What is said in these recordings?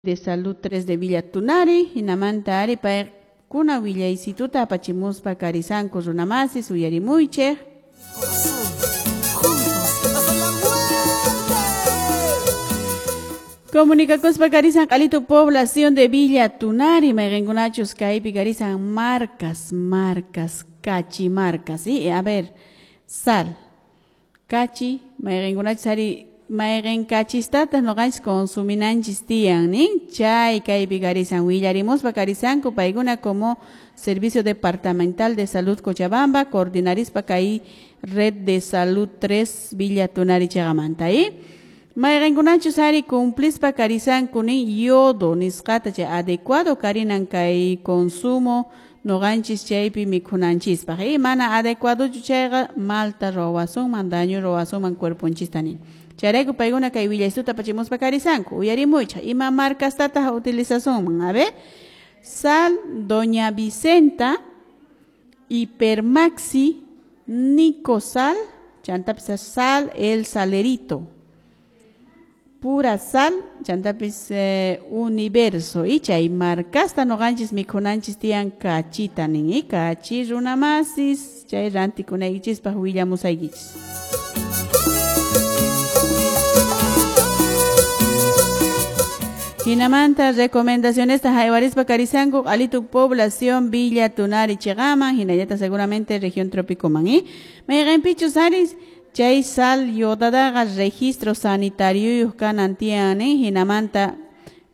De Salud 3 de Villa Tunari, hinamanta ari paykuna willaysituta apachimuspa karisanku runamasis uyarimuychik. Comunicakuspa karisan q'alitu población de Villa Tunari, mayqinkunachus kaypi karisan marcas, marcas, kachi marcas, ¿sí? A ver, sal, kachi, mayqinkunachus ari mayqin kachistataq ñuqanchis consuminanchis tiyan, nin? Chay kaypi karisan willarimuspa karisanku paykuna como Servicio Departamental de Salud Cochabamba, coordinarispa kay Red de Salud 3 Villa Tunari chaqamanta, ¿eh? Mayqinkunachus ari cumplispa karisanku nin yodo nisqata chay adecuado karinan kay consumo ñuqanchis chaypi mikhunanchispaq, ¿eh? Mana adecuadochu chayqa malta ruwasunman, daño ruwasunman cuerponchista nin. Chayrayku paykuna kay willaysuta apachimuspa karisanku, uyarimuychaq, ima marcastataq utilizasunman, a ver, sal Doña Vicenta, Hipermaxi, Nicosal, chantapis sal El Salerito, pura sal, chantapis Universo, y chay marcasta ñuqanchis mikhunanchis tiyan kachita nin, y kachi runamasis, chay rantikunaykichispaq willamusaykichis. Hinamanta recomendaciones haywarispa karisanku q'alitu población Villa Tunari chiqaman, hinallata seguramente región trópico man, ¿eh? Mayqinpichus aris chay sal yodadaqa registro sanitario kanan tiyan, ¿eh? Hinamanta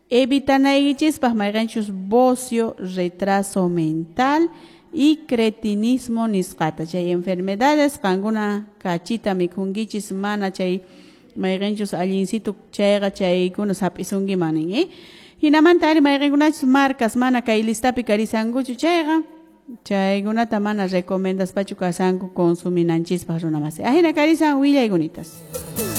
evitanaykichispaq mayqinchus bocio, retraso mental y cretinismo nisqata. Chay enfermedades qankuna kachita mikhunkichis mana chay mayqinchus allincito chayqa chaykuna hap'isunkiman nin, ¿eh? Hinamanta ari mayqinkunachus marcas mana kay listapi karisankuchu chayqa chaykunata mana recomendaspachu kasanku consuminanchispaq runamasi. Ahina karisan willaykunitas.